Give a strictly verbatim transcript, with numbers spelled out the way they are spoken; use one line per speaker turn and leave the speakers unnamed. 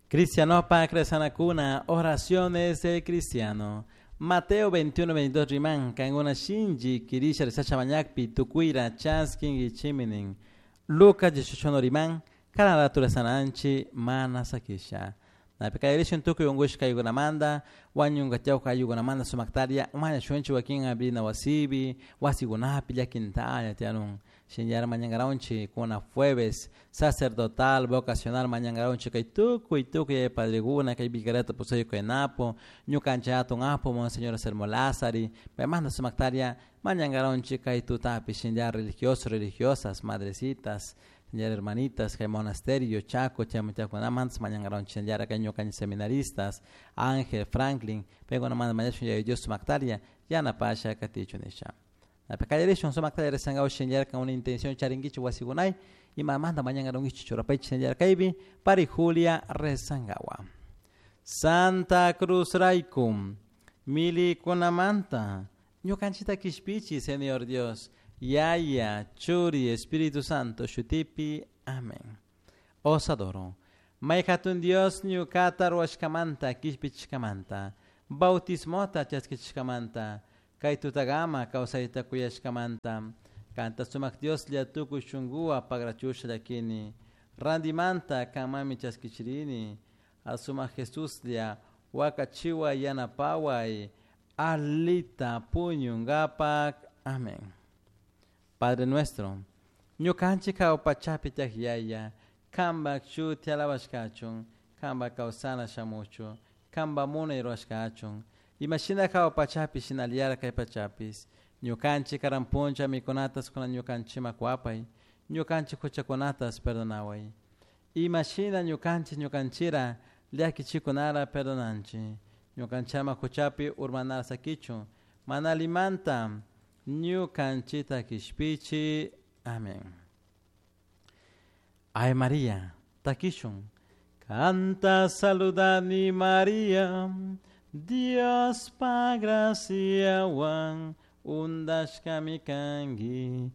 Cristianopa Cresanacuna, oraciones del cristiano. Mateo veintiuno, veintidós riman, kankuna shinchi kirisha rezasha mañakpi, tukuyra chaskinkichiminin. Lucas dieciocho riman, cada rato rezananchi mana sakisha. Napi kallarishun tukuy unkushka ayukunamanta, wañunkatiyawka ayukunamanta sumaktaria, mañashunchik wakin abrina wasipi, wasikunapi llakintalla tiyanun. Shinllara mañankaranchik kuna jueves sacerdotal, vocacional mañankaranchik kay tukuy tukuy padrekuna kay vicariato apostoliko kay Napo, ñukanchik hatun apu Monseñor Anselmo Lázari, paymanta sumaktaria mañankaranchik kay tutapi shinllara religiosos, religiosas, madrecitas, shinllara hermanitas, kay monasterio, Chaco, chaymantakunamanta mañankaranchik shinllara kay ñukanchik seminaristas, Ángel, Franklin, paykunamanta mañashun Yaya Dios sumaktaria yanapasha katichun nisha. Napi kallarishun sumaktaria rezankaw shinllara kan una intención charinkichik wasikunay, imamanta mañankarankichik churapaychik shinllara kaypi, pari Julia rezankawa. Santa Cruz raykum, milikunamanta, ñukanchita kishpichi, Señor Dios, Yaya, Churi, Espíritu Santo, shutipi, amén. Os adoro. Mayhatun Dios ñukata ruwashkamanta, kishpichishkamanta, bautismota chaskichishkamanta, kay tutagama kawsayta kuyashkamanta, kanta sumak Dios lla tukuy shunkuwa pagrachusha llakini, randimanta kanmanmi chaskichirini, asumak Jesus lla wakachiwa yanapaway, alita puñunkapak. Amén. Padre nuestro, ñukanchik kawpachapi tiyak Yaya, kanpak shuti alabashkachun, kanpak kawsana shamuchu, kanpak munay ruwashkachun, imashina kawpachapi shinallara kay pachapis, ñukanchik karan puncha mikunatas kunan ñukanchikman kuwapay, ñukanchik huchakunatas perdonaway. Imashina ñukanchik ñukanchira llakichikunara perdonanchik, ñukanchama huchapi urmanara sakichun, mana alimanta ñukanchita kishpichi. Amén. Ay María, takishun. Canta saludani María, Dios pa gracia wan undashkami kanki,